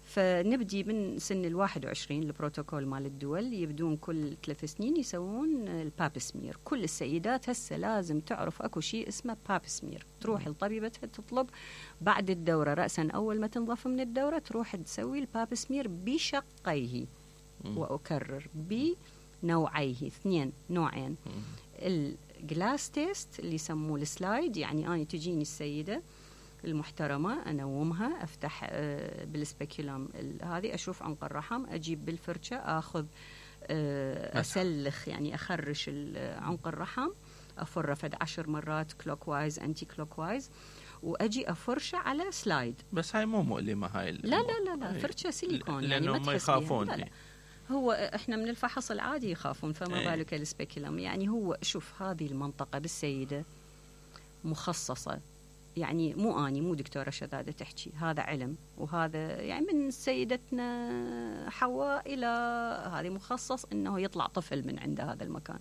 فنبدي من سن الواحد وعشرين، البروتوكول مال الدول يبدون كل ثلاث سنين يسوون الباب سمير. كل السيدات هسه لازم تعرف اكو شيء اسمه باب سمير، تروح لطبيبتها تطلب بعد الدورة رأسا أول ما تنضف من الدورة تروح تسوي الباب سمير بشقيه، وأكرر بنوعيه، اثنين نوعين. الجلاس تيست اللي يسموه السلايد، يعني أنا تجيني السيدة المحترمة أنومها، أفتح بالسبيكولوم هذه أشوف عنق الرحم، أجيب بالفرشة أخذ أسلخ يعني أخرش عنق الرحم، أفر فد عشر مرات كلوك وايز أنتي كلوك وايز، وأجي أفرشه على سلايد. بس هاي مو مؤلمة هاي؟ لا لا لا لا فرشة سيليكون يعني ما يخافون. لا لا. هو إحنا من الفحص العادي يخافون، فما ايه. بالك السبيكولوم. يعني هو شوف هذه المنطقة بالسيدة مخصصة، يعني مو أني مو دكتورة شذادة تحكي، هذا علم، وهذا يعني من سيدتنا حواء إلى هذه مخصص إنه يطلع طفل من عند هذا المكان،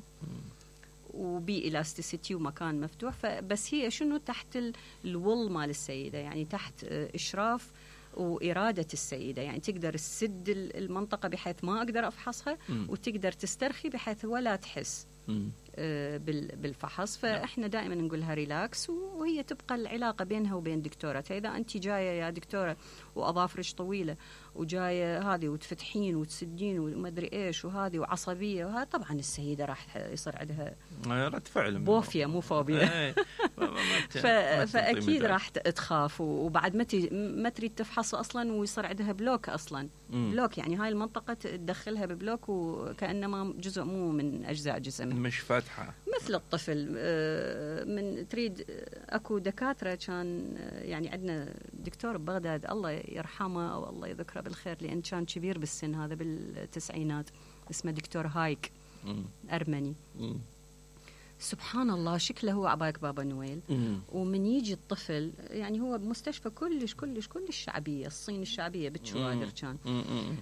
وبي إلاستيسيتي ومكان مفتوح. فبس هي شنو تحت الول مال السيدة، يعني تحت إشراف وإرادة السيدة، يعني تقدر تسد المنطقة بحيث ما أقدر أفحصها، وتقدر تسترخي بحيث ولا تحس بالفحص. فإحنا دائما نقولها ريلاكس، وهي تبقى العلاقة بينها وبين دكتورتها. إذا أنت جاية يا دكتورة وأظافرش طويلة وجاية هذه وتفتحين وتسدين وما أدري إيش وهذه وعصبية وهذا، طبعا السيدة راح يصير عندها رد فعل، بوفيا مو فوبيا. فأكيد راح تخاف، وبعد ما ما تريد تفحص أصلا، ويصير عندها بلوك أصلا. مم. بلوك يعني هاي المنطقة تدخلها ببلوك، وكأنما جزء مو من أجزاء جسمها، مش فاتحة مثل الطفل. من تريد أكو دكاترة كان يعني عندنا دكتور ببغداد الله يرحمه أو الله يذكره بالخير، لأن كان كبير بالسن، هذا بالتسعينات، اسمه دكتور هايك، مم. أرمني. مم. سبحان الله شكله هو عباك بابا نويل. مم. ومن يجي الطفل، يعني هو بمستشفى كلش كلش كلش شعبية، الصين الشعبية بالشوادر كان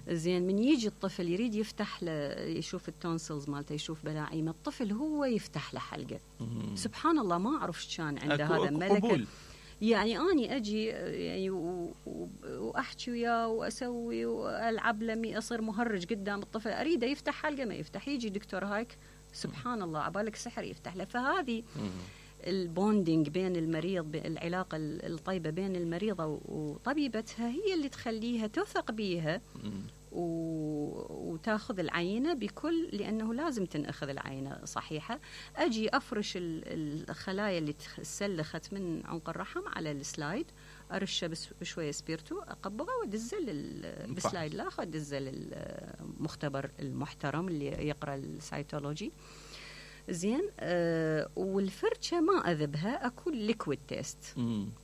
زين. من يجي الطفل يريد يفتح له، يشوف التونسلز مالته، يشوف بلاعيمه، الطفل هو يفتح له حلقة. مم. سبحان الله ما أعرف شان عنده هذا ملكة. يعني أني أجي يعني وأحكي وياه وأسوي وألعب لمي، أصير مهرج قدام الطفل، أريده يفتح حلقة ما يفتح، يجي دكتور هايك سبحان الله عبالك سحر يفتح له. فهذه البوندينج بين المريض، العلاقة الطيبة بين المريضة وطبيبتها، هي اللي تخليها تثق بيها وتاخذ العينة بكل، لأنه لازم تنأخذ العينة صحيحة. أجي أفرش الخلايا اللي تسلخت من عنق الرحم على السلايد، أرشه بشوية سبيرتو، أقبضه وأدزل بالسلايد الآخر، أدزل المختبر المحترم اللي يقرأ السيتولوجي زين. آه والفرشة ما أذبها، أكو ليكويد تيست،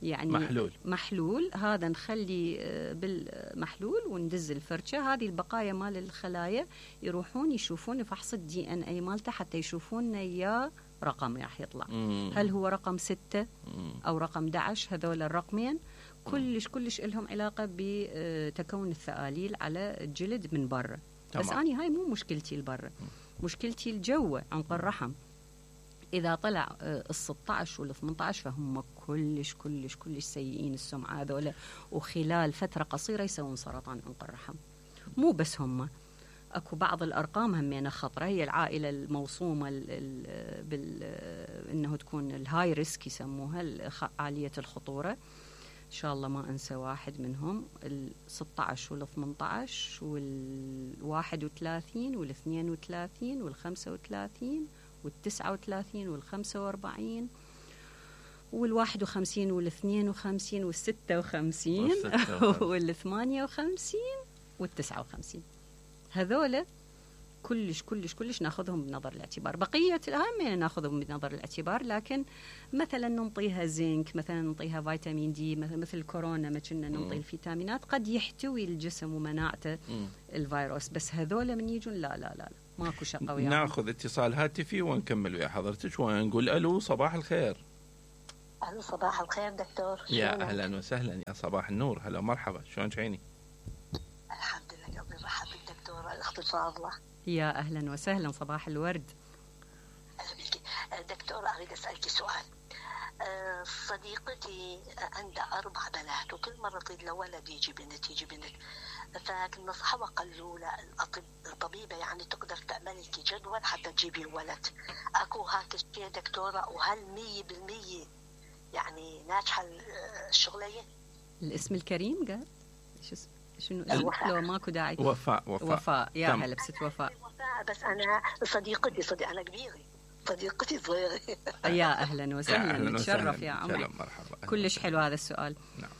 يعني محلول محلول هذا نخلي آه بالمحلول وندز الفرشة، هذه البقايا مال الخلايا يروحون يشوفون فحص الدي ان اي مالته، حتى يشوفون يا رقم راح يطلع، مم. هل هو رقم ستة مم. أو رقم أحد عشر، هذول الرقمين كلش كلش لهم علاقة بتكون الثقاليل على الجلد من برا. بس أنا هاي مو مشكلتي البرا، مشكلتي الجوة عنق الرحم. إذا طلع الستة عشر والثمانية عشر فهم كلش كلش كلش سيئين السمعة هذول، وخلال فترة قصيرة يسوون سرطان عنق الرحم. مو بس هم، أكو بعض الأرقام همينة خطرة. هي العائلة الموصومة بال إنه تكون الهاي ريسك يسموها، عالية الخطورة، إن شاء الله ما أنسى واحد منهم، ال ستة عشر وال ثمانية عشر وال واحد وثلاثين وال اثنين وثلاثين وال خمسة وثلاثين وال تسعة وثلاثين وال خمسة وأربعين وال واحد وخمسين وال اثنين وخمسين وال ستة وخمسين وال ثمانية وخمسين وال تسعة وخمسين. هذولا كلش كلش كلش ناخذهم بنظر الاعتبار. بقية الأهم ناخذهم بنظر الاعتبار، لكن مثلا ننطيها زنك، مثلا ننطيها فيتامين دي، مثل الكورونا ما كنا ننطي الفيتامينات، قد يحتوي الجسم ومناعته الفيروس، بس هذول من يجون لا لا لا, لا. ماكو شقة وياهم. ناخذ اتصال هاتفي ونكمل ويا حضرتك ونقول ألو صباح الخير. ألو صباح الخير دكتور. يا أهلا وسهلا، يا صباح النور، هلا مرحبا، شلونك عيني؟ الحمد لله، قبل مرحبا بالدكتورة الأخت الفاضلة. يا أهلا وسهلا، صباح الورد. دكتورة أريد أسألك سؤال. صديقتي عندها أربع بنات وكل مرة تريد له ولد يجي بنت يجي بنت، فكنا نصحها وقالوا له الطبيبة يعني تقدر تعمل لك جدول حتى تجيبي ولد. أكو هاك الشيء دكتورة؟ وهل مية بالمية يعني ناجحة الشغلية؟ الاسم الكريم قال شو شنو لو ماكو داعي. وفاء. وفاء, وفاء. يا هلا بست وفاء. وفاء، بس أنا صديقتي صديق أنا كبيرة، صديقتي صغيرة. يا أهلا وسهلا، نتشرف يا عمر. مرحبا. كلش حلو هذا السؤال. نعم.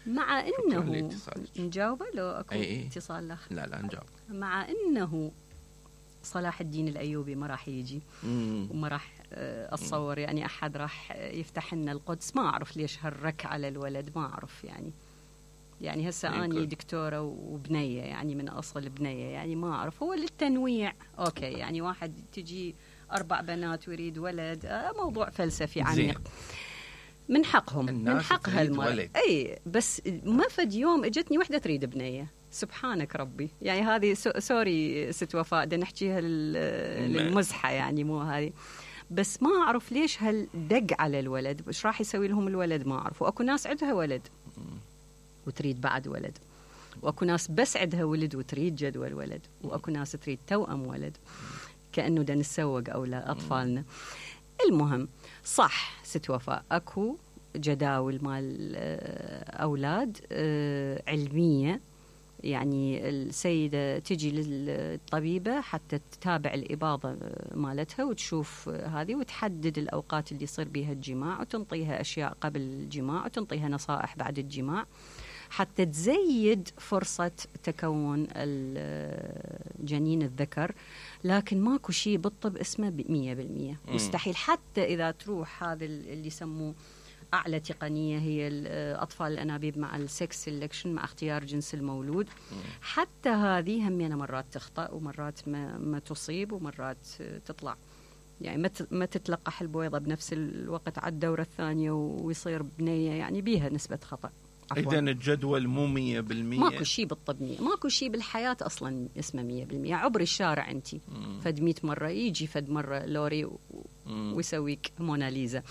مع إنه نجاوبه لو أكو أي اتصال لأخ. لا لا نجاوب. مع إنه صلاح الدين الأيوبي ما راح يجي وما راح أتصور يعني أحد راح يفتح لنا القدس، ما أعرف ليش هالرك على الولد، ما أعرف يعني يعني هسه أني دكتورة وبنية يعني من أصل بنية، يعني ما أعرف، هو للتنويع أوكي، يعني واحد تجي أربع بنات ويريد ولد، آه موضوع فلسفي عميق. من حقهم، من حقها المرأة. أي بس ما فد يوم اجتني وحدة تريد بنية، سبحانك ربي، يعني هذه سوري ست وفاء دا نحكيها للمزحة يعني مو هذه، بس ما أعرف ليش هالدق على الولد، وش راح يسوي لهم الولد ما أعرف. وأكو ناس عندها ولد وتريد بعد ولد، وأكو ناس بس عندها ولد وتريد جدول ولد، وأكو ناس تريد توأم ولد، كأنه دا نسوق أولا أطفالنا. المهم صح ست وفاء، أكو جداول مال أولاد علمية، يعني السيدة تجي للطبيبة حتى تتابع الإباضة مالتها وتشوف هذه وتحدد الأوقات اللي يصير بها الجماع، وتنطيها أشياء قبل الجماع وتنطيها نصائح بعد الجماع حتى تزيد فرصة تكون الجنين الذكر. لكن ماكو شيء بالطب اسمه مية بالمية، مستحيل. حتى إذا تروح هذا اللي يسموه أعلى تقنية، هي أطفال الأنابيب مع السكس سيلكشن، مع اختيار جنس المولود، حتى هذه همينة مرات تخطأ ومرات ما, ما تصيب ومرات تطلع، يعني ما تتلقح البويضة بنفس الوقت على الدورة الثانية ويصير بنية، يعني بيها نسبة خطأ. إذن الجدول مو مية بالمية، ماكو شيء بالطب مية، ماكو شيء بالحياة أصلا اسمه مية بالمية. عبر الشارع أنتي فد مية مرة يجي فد مرة لوري و... ويسويك موناليزا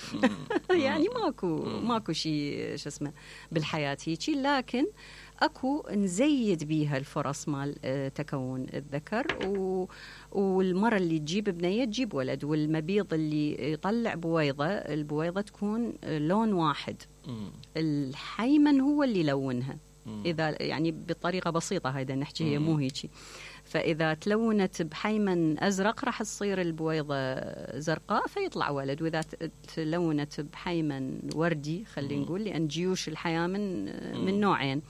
يعني ماكو ماكو شيء شو اسمه بالحياة هيجي، لكن أكو نزيد بيها الفرص مال تكون الذكر، و... والمرة اللي تجيب بنية تجيب ولد، والمبيض اللي يطلع بويضة البويضة تكون لون واحد، الحيمن هو اللي يلونها إذا يعني بطريقة بسيطة، هيدا نحكي هي مو هيجي. فإذا تلونت بحيمن أزرق راح تصير البويضة زرقاء فيطلع ولد، وإذا تلونت بحيمن وردي خلينا نقول، لأن جيوش الحيامن من نوعين،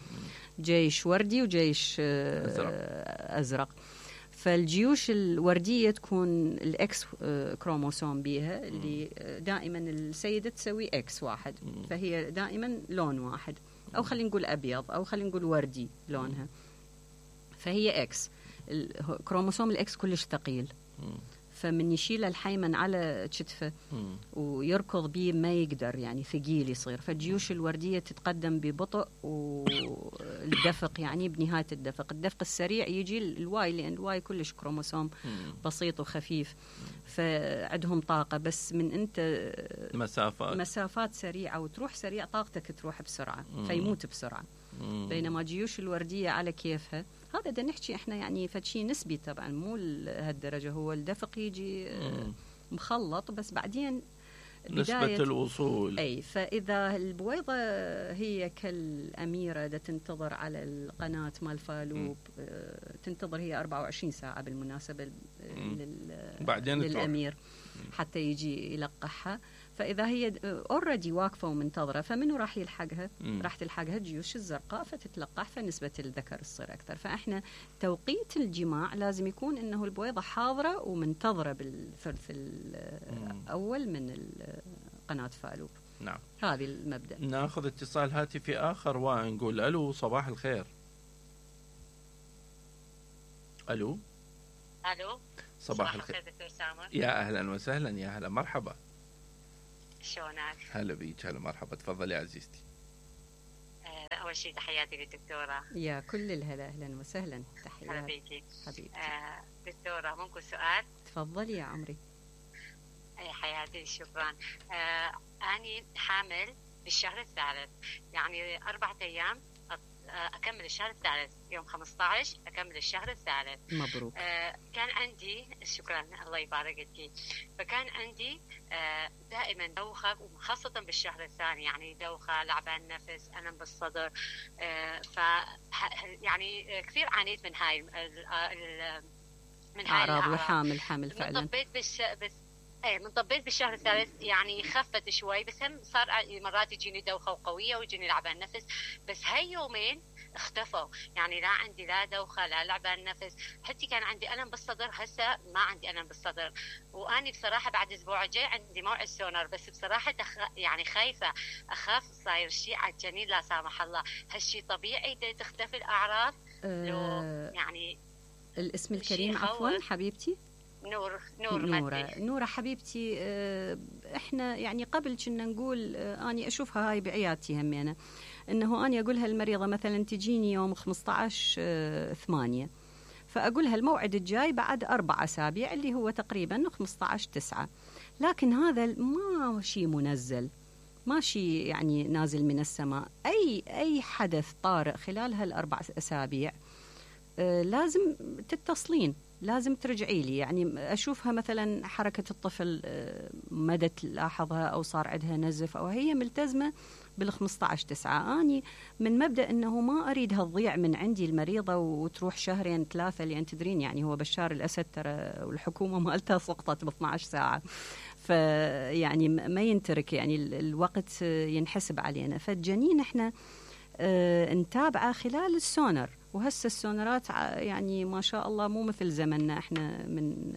جيش وردي وجيش أزرق, أزرق. فالجيوش الوردية تكون الإكس كروموسوم بيها، اللي دائما السيدة تسوي إكس واحد، فهي دائما لون واحد، أو خلينا نقول أبيض، أو خلينا نقول وردي لونها، فهي إكس. الكروموسوم الإكس كلش ثقيل، فمن يشيل الحيمن على كتفه ويركض بيه ما يقدر، يعني ثقيل يصير. فالجيوش الوردية تتقدم ببطء، والدفق يعني بنهاية الدفق الدفق السريع يجي الواي، لأن الواي كلش كروموسوم بسيط وخفيف، فعندهم طاقة، بس من أنت مسافات مسافات سريعة وتروح سريع طاقتك تروح بسرعة فيموت بسرعة. بينما جيوش الوردية على كيفها، هذا دا نحكي احنا يعني فشي نسبي طبعا، مو لهالدرجة، هو الدفق يجي مخلط، بس بعدين نسبة الوصول. أي، فإذا البويضة هي كالأميرة دا تنتظر على القناة مال فالوب، تنتظر هي أربعة وعشرين ساعة بالمناسبة بعدين للأمير تروح. حتى يجي يلقحها. فإذا هي اوريدي واقفة ومنتظرة، فمنو راح يلحقها؟ مم. راح تلحقها الجيوش الزرقاء فتتلقح، فنسبة الذكر تصير أكثر. فإحنا توقيت الجماع لازم يكون إنه البويضة حاضرة ومنتظرة بالثلث الأول من قناة فالوب. نعم، هذه المبدأ. ناخذ اتصال هاتفي آخر ونقول ألو، صباح الخير. ألو. ألو، صباح الخير دكتور سامر. يا أهلا وسهلا، يا هلا مرحبا. شلونك؟ هلا بيك، هلا مرحبا، تفضلي يا عزيزتي. آه، أول شيء تحياتي للدكتورة. يا كل الهلا، أهلا وسهلا، تحياتي. هلا بيكي حبيبتي. آه، دكتورة ممكن سؤال؟ تفضلي يا عمري. أي حياتي، شكرا. آه، أنا حامل بالشهر الثالث، يعني أربعة أيام أكمل الشهر الثالث، يوم خمسة عشر أكمل الشهر الثالث. مبروك. آه كان عندي، شكرا الله يبارك فيك، فكان عندي آه دائما دوخة، وخاصة بالشهر الثاني، يعني دوخة، لعبان نفس، ألم بالصدر. آه ف يعني كثير عانيت من هاي من هاي أعراض وحامل الحمل فعلا. طبيت بالش... بس ايه من طبيت بالشهر الثالث، يعني خفت شوي، بس هم صار مرات يجيني دوخه وقويه ويجيني لعبان نفس، بس هاي يومين اختفوا، يعني لا عندي لا دوخه لا لعبان نفس، حتى كان عندي الم بالصدر، هسه ما عندي الم بالصدر. واني بصراحه بعد اسبوع جاي عندي موعد سونار، بس بصراحه دخ... يعني خايفه، اخاف صاير شيء على الجنين لا سامح الله. هالشيء طبيعي تختفي الاعراض؟ أه لو يعني الاسم الكريم عفوا حبيبتي. نور نور نورة نورة حبيبتي. اه احنا يعني قبل كنا نقول اه اني اشوفها هاي بعيادتي همينة، انه اني اقولها المريضة مثلا تجيني يوم خمسة عشر اه ثمانية، فاقولها الموعد الجاي بعد اربع اسابيع اللي هو تقريبا خمسة عشر تسعة، لكن هذا ما شيء منزل، ما شيء يعني نازل من السماء. اي اي حدث طارئ خلال هالاربع اسابيع اه لازم تتصلين، لازم ترجعي لي. يعني أشوفها مثلا حركة الطفل مدى تلاحظها أو صار عندها نزف أو هي ملتزمة بالخمسة عشر تسعة. أني من مبدأ أنه ما أريدها تضيع من عندي المريضة وتروح شهرين ثلاثة، لأن تدرين يعني هو بشار الأسد ترى والحكومة مالتها سقطت ب اثنتي عشرة ساعة، فيعني ما ينترك، يعني الوقت ينحسب علينا. فالجنين احنا اه نتابعه خلال السونر، وهسه السونرات يعني ما شاء الله مو مثل زمننا احنا من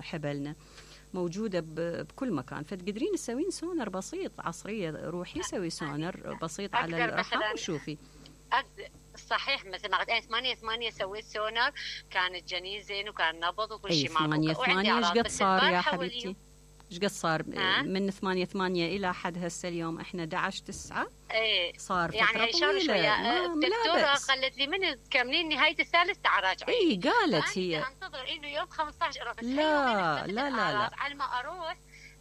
حبلنا، موجودة بكل مكان، فتقدرين تسوين سونر بسيط عصرية، روحي سوي سونر بسيط على الرحم وشوفي. صحيح، مثل ما قلت أنا ثمانية ثمانية سويت سونر، كان الجنين زين وكان نبض وكل شيء معه. ثمانية ثمانية ايش قد صار يا حبيبتي؟ ايش قد صار من ثمانية ثمانية إلى حد هسه اليوم احنا أحد عشر تسعة؟ ايه صار فترة يعني طويلة. شوية الدكتورة قالت لي من تكملين نهاية الثالث تعراجعي. اي قالت هي انتظر انه يوم خمسة عشر بس. لا لا لا لا على ما اروح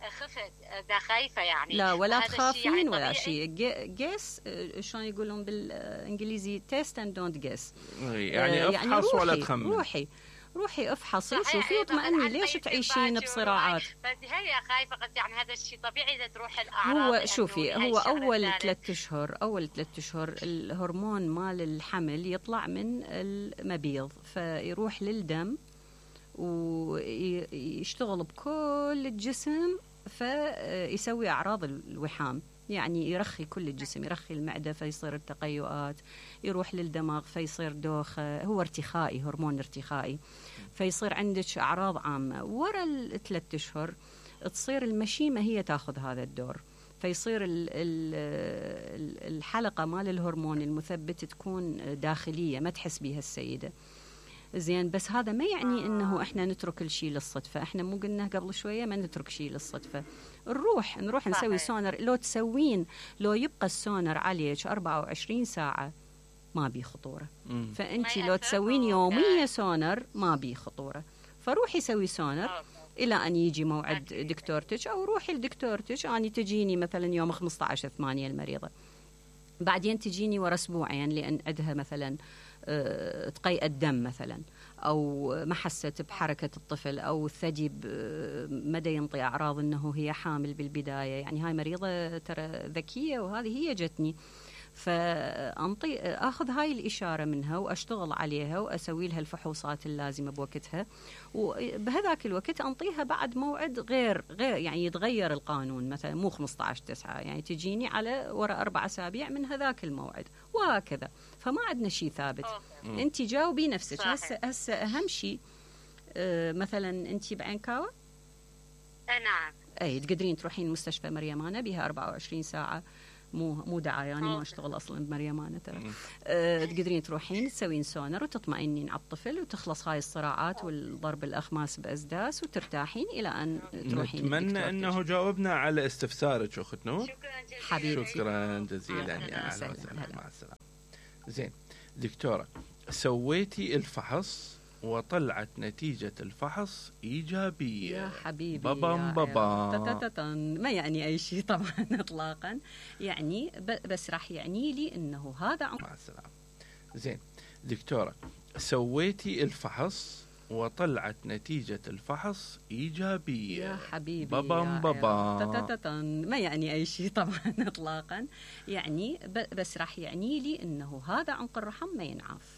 خفت، دا خايفة يعني. لا ولا تخافين يعني ولا شيء. جيس شلون يقولون بالانجليزي تيست اند دونت جيس، يعني افحص ولا تخمن. روحي روحي افحصي شوفي واطمئني، ليش تعيشين بصراعات؟ فهي خايفه، قلت يعني هذا الشيء طبيعي اذا تروح الاعراض. هو شوفي هو اول ثلاث اشهر اول ثلاث اشهر الهرمون مال الحمل يطلع من المبيض، فيروح للدم ويشتغل بكل الجسم، فيسوي اعراض الوحام، يعني يرخي كل الجسم، يرخي المعدة فيصير التقيؤات، يروح للدماغ فيصير دوخة، هو ارتخائي، هرمون ارتخائي، فيصير عندك أعراض عامة. ورا الثلاث أشهر تصير المشيمة هي تاخذ هذا الدور، فيصير الحلقة مال الهرمون المثبت تكون داخلية ما تحس بها السيدة زين. بس هذا ما يعني انه احنا نترك كل شيء للصدفه، احنا مو قلنا قبل شويه ما نترك شيء للصدفه، نروح نروح نسوي سونر. لو تسوين لو يبقى السونر عليك أربعة وعشرين ساعه ما بي خطوره، فانت لو تسوين يوميا سونر ما بي خطوره، فروحي سوي سونر الى ان يجي موعد دكتورتك، او روحي لدكتورتك. اني تجيني مثلا يوم خمسة عشر ثمانية المريضه، بعدين تجيني ورا اسبوعين لان عندها مثلا تقيء الدم مثلا، أو ما حست بحركة الطفل، أو الثدي مدى ينطي أعراض أنه هي حامل بالبداية. يعني هاي مريضة ترى ذكية، وهذه هي جتني، فأنطي أخذ هاي الإشارة منها وأشتغل عليها وأسوي لها الفحوصات اللازمة بوقتها، وبهذاك الوقت أنطيها بعد موعد غير غير يعني يتغير القانون، مثلا مو خمسة عشر تسعة، يعني تجيني على وراء أربع أسابيع من هذاك الموعد، وهكذا. فما عندنا شيء ثابت. أنت جاوبي نفسك. هسه هسه أهم شيء آه مثلا أنت بعينكاوة؟ نعم. أي تقدرين تروحين مستشفى مريمانة، بها أربعة وعشرين ساعة، مو مو دعايه يعني ما اشتغل اصلا بمريمانه ترى. أه تقدرين تروحين تسوين سونر وتطمئنين على الطفل، وتخلص هاي الصراعات والضرب الاخماس باسداس، وترتاحين الى ان تروحين. نتمنى انه جاوبنا على استفسارك اخت نور. شكرا جزيلا. حبيبتي. شكرا جزيلا يا اهلا وسهلا. مع السلامه. زين دكتوره، سويتي الفحص وطلعت نتيجة الفحص إيجابية. يا حبيبي بابا بابا ما يعني أي شيء طبعا إطلاقا، يعني بس راح يعني لي أنه هذا. مع السلامة. زين دكتورة، سويتي الفحص وطلعت نتيجة الفحص إيجابية. يا حبيبي بابا بابا ما يعني أي شيء طبعا إطلاقا، يعني بس راح يعني لي أنه هذا عنق الرحم ما ينعاف.